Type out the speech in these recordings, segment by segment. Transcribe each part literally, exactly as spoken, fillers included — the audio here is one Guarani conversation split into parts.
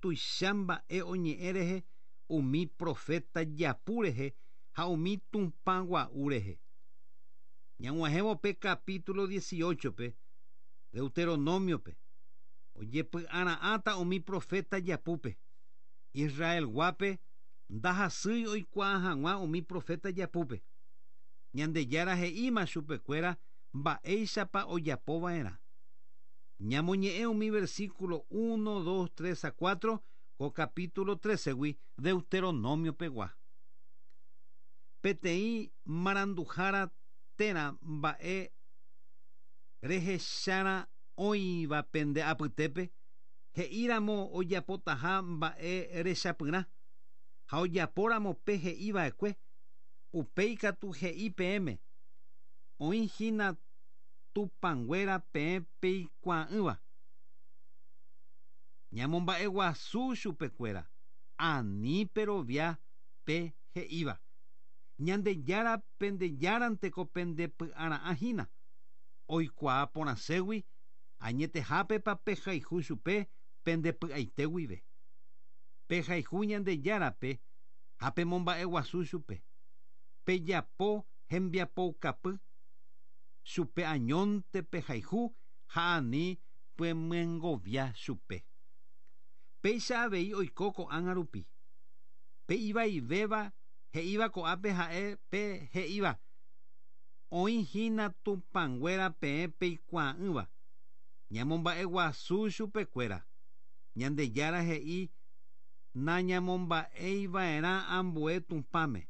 Tuicha mba'e oñe'ẽ rehe umi profeta japu rehe ha umi tupã gua'u rehe. Ñag̃uahẽvo pe capítulo dieciocho-pe Deuteronomio-pe ojepy'ara'ãta umi profeta japúpe. Israelguápe ndahasýi oikuaa hag̃ua umi profeta japúpe. Ñandejára he'íma chupekuéra mba'éichapa ojapova'erã. Ñamoñe'ẽ umi versículo uno, dos, tres a cuatro ko capítulo trece-gui Deuteronomio-pegua. Peteĩ maranduhára térã mba'e rehechára oĩva pende apytépe he'íramo ojapotaha mba'e rechapyrã ha ojapóramo pe he'iva'ekue upéi katu he'i peẽme oĩhína tupãnguéra peẽ peikuaa'ỹva. Ñamomba'eguasu chupekuéra ani perovia pe he'íva. Ñandejára pendejáranteko pendepy'ara'ãhína oikuaa porãségui añetehápepa pehayhu chupe pendepy'aite guive. Pehayhu Ñandejárape ha pemomba'eguasu chupe. Pejapo hembiapoukapy chupe añónte pehayhu ha ani pemyengovia chupe. Péicha avei oiko ko'ág̃a rupi. Pe ivaivéva he'íva ko'ápe ha'e pe he'íva oĩhína tupãnguéra peẽ peikuaa'ỹva. Ñamomba'eguasu chupekuéra. Ñandejára he'i nañamomba'eiva'erã ambue tupãme.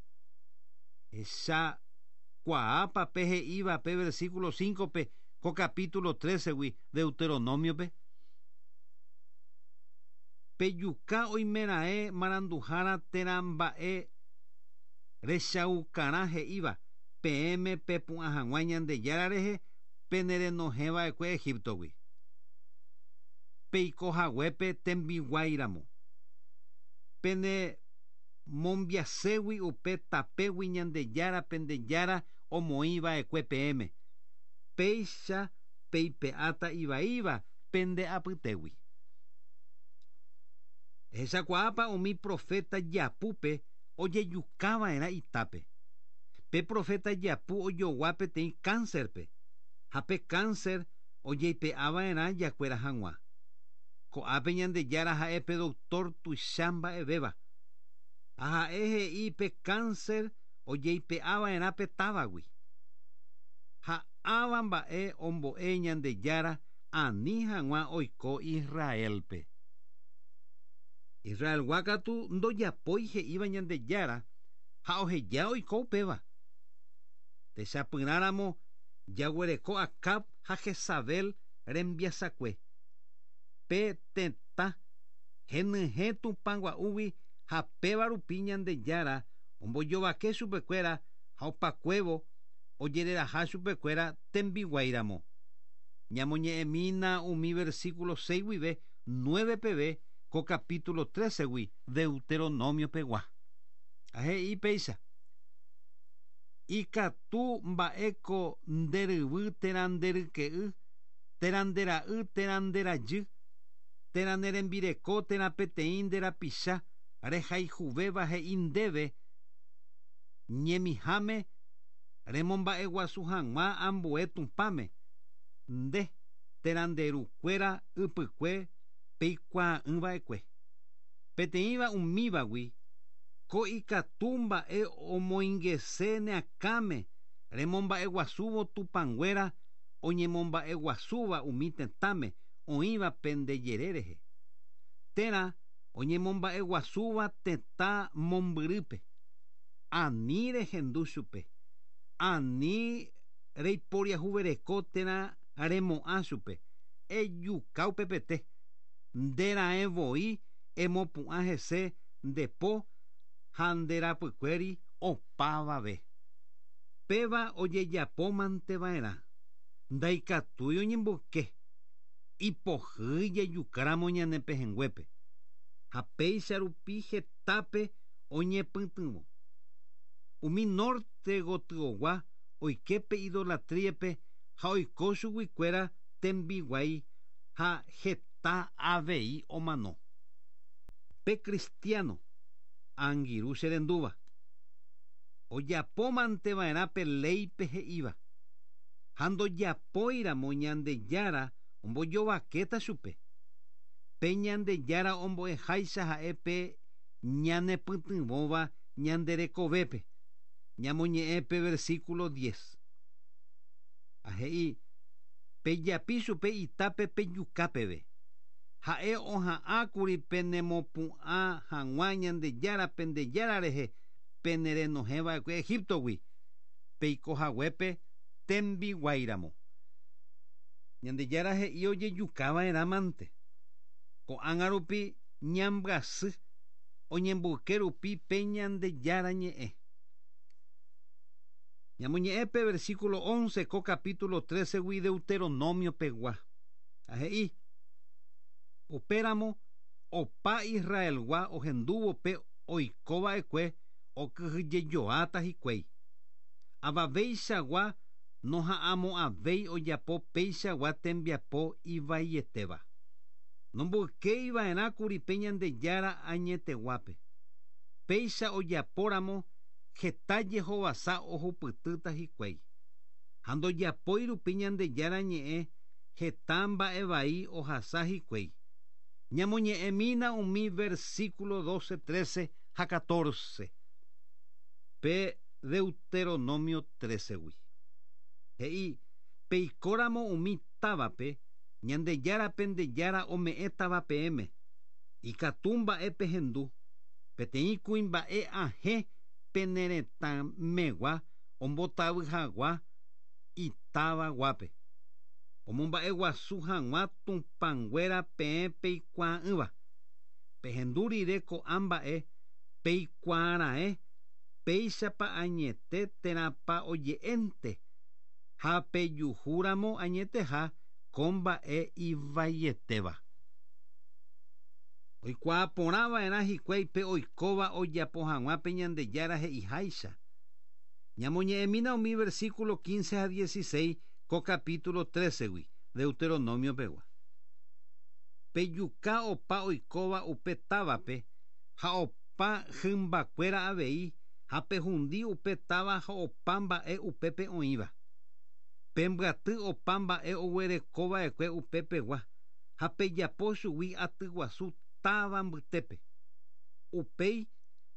Hechakuaápa pe he'íva pe versículo cinco-pe ko capítulo trece-gui Deuteronomio-pe. Pejuka oimeraẽ maranduhára térã mba'e rechaukarã he'íva peẽme pepu'ã hag̃ua Ñandejára rehe penerenohẽva'ekue Egiptogui. Peiko haguépe tembiguáiramo. Pene mombiaségui upe tapégui Ñandejára pendejára omoĩva'ekue peẽme. Péicha peipe'áta ivaíva pende apytégui. Hechakuaápa umi profeta japúpe ojejukava'erã itápe. Pe profeta japu ojogua peteĩ cáncerpe ha pe cáncer ojeipe'ava'erã jakuéra hag̃ua. Ko'ápe Ñandejára ha'e pe doctor tuicha mba'evéva. Ha ha'e he'i pe cáncer ojeipe'ava'erã pe távagui. Ha ãva mba'e ombo'e Ñandejára ani hag̃ua oiko Israelpe. Israelgua katu ndojapói he'íva Ñandejára ha oheja oiko upéva. Techapyrãramo jaguereko Acab ha Jezabel rembiasakue. Pe tetã henyhẽ tupã gua'úgui ha péva rupi Ñandejára ombojovake chupekuéra ha opakuévo ojereraha chupekuéra tembiguáiramo. Ñamoñe'ẽmína umi versículo seis guive nueve peve ko capítulo trece-gui Deuteronomio-pegua. Ha he'i péicha. Ikatu mba'éko nderyvy térã nderyke'y, térã ndera'y térã nderajy, térã nerembireko térã peteĩ nderapicha rehayhuvéva he'i ndéve ñemiháme remomba'eguasu hag̃ua ambue tupãme nde térã nderukuéra ypykue peikuaa'ỹva'ekue. Peteĩva umívagui ko ikatu mba'e omoingese neakãme remomba'eguasúvo tupãnguéra oñemomba'eguasúva umi tetãme oĩva pendejere rehe. Térã oñemomba'eguasúva tetã mombyrýpe. Ani rehendu chupe. Ani reiporiahuvereko térã remo'ã chupe. Ejuka upepete. Nderaẽ voi emopu'ã hese ndepo ha nderapykuéri opavave. Péva ojejapómanteva'erã. Ndaikatúi oñemboyke. Ipohýi jejukáramo ñane pehẽnguépe. Ha péicha rupi hetápe oñepytyvõ. Umi norte gotyogua oike pe idolatríape ha oiko chuguikuéra tembiguái ha heta avei omano. Pe cristiano angirũ cherendúva ojapomanteva'erã pe léipe he'íva ha ndojapóiramo Ñandejára ombojovakéta chupe. Pe Ñandejára ombo'eháicha ha'e pe ñanepytyvõva ñanderekovépe. Ñamoñe'ẽ pe versículo diez. Ha he'i pejapi chupe itápe pejukápeve. Ha'e oha'ãkuri penemopu'ã hag̃ua Ñandejára pendejára rehe penerenohẽva'ekue Egiptogui peikohaguépe tembiguáiramo. Ñandejára he'i ojejukava'erãmante. Ko'ág̃a rupi ñambyasy oñemboyke rupi pe Ñandejára ñe'ẽ. Ñamoñe'ẽ pe versículo once ko capítulo trece-gui Deuteronomio pegua. Ha he'i upéramo opa Israelgua ohendúvo pe oikova'ekue okyhyjejoáta hikuái. Avaveichagua noha'ãmo'ãvéi ojapo péichagua tembiapo ivaietéva. Nomboykeiva'erãkuri pe Ñandejára añeteguápe. Péicha ojapóramo heta jehovasa ohupytýta hikuái. Ha ndojapói rupi Ñandejára ñe'ẽ heta mba'evai ohasa hikuái. Ñamoñe'ẽmína umi versículo doce, trece ha catorce. Pe Deuteronomio trece-gui. He'i peikóramo umi távape Ñandejára pendejára ome'ẽtava peẽme. Ikatu mba'e pehendu. Peteĩ kuimba'e ahẽ peneretãmegua ombotavy hag̃ua itávaguápe. Omomba'eguasu hag̃ua tupãnguéra peẽ peikuaa'ỹva. Pehendu rire ko'ã mba'e peikuaara'ẽ péichapa añete térãpa oje'énte ha pejuhúramo añeteha ko mba'e ivaietéva. Oikuaaporãva'erã hikuái pe oikóva ojapo hag̃ua pe Ñandejára he'iháicha. Ñamoñe'ẽmína umi versículo quince ha dieciséis ko capítulo trece-gui Deuteronomio pegua. Pejuka opa oikóva upe távape ha opa hymbakuéra avei ha pehundi upe táva ha opa mba'e upépe oĩva. Pembyaty opa mba'e oguerekova'ekue upepegua ha pejapo chugui atyguasu táva mbytépe. Upéi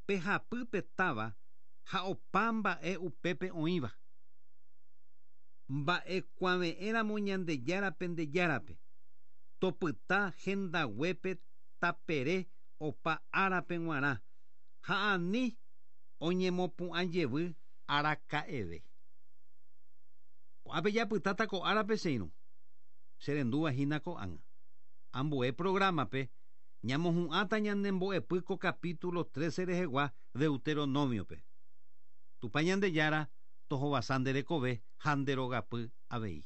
pehapy pe táva ha opa mba'e upépe oĩva. Mba'ekuave'ẽramo Ñandejára pendejárape. Topyta hendaguépe tapere opa árape g̃uarã ha ani oñemopu'ãjevy araka'eve. Ko'ápe japytáta ko árape che irũ. Cherendúva hína ko'ág̃a. Ambue programa-pe ñamohu'ãta ñanembo'epy ko capítulo trece rehegua Deuteronomio-pe. Tupã Ñandejára tohovasa nde rekove ha nde rogapy avei.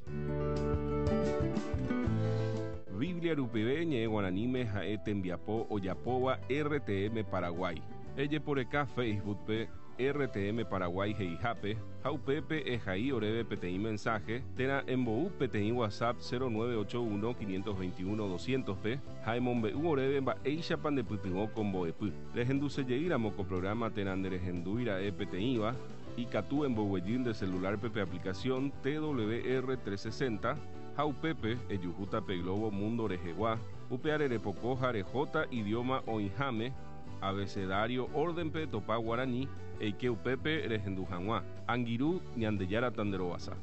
Biblia rupive ñe'ẽ guaraníme ha'e tembiapo ojapóva R T M Paraguay. Ejeporeka Facebook-pe R T M Paraguay he'ihápe ha upépe ehai oréve peteĩ mensaje térã embou peteĩ WhatsApp cero nueve ocho uno quinientos veintiuno doscientos-pe ha emombe'u oréve mba'éichapa ndepytyvõ ko mbo'epy. Rehendusejeýramo ko programa térã nderehendúira'e peteĩva ikatu emboguejy nde celular-pe pe aplicación T W R trescientos sesenta ha upépe ejuhúta pe Globo Mundo rehegua upe arerepoko ha rehóta idioma oĩháme abecedario orden-pe topa guarani eike upépe rehendu hag̃ua. Angirũ Ñandejára tanderovasa.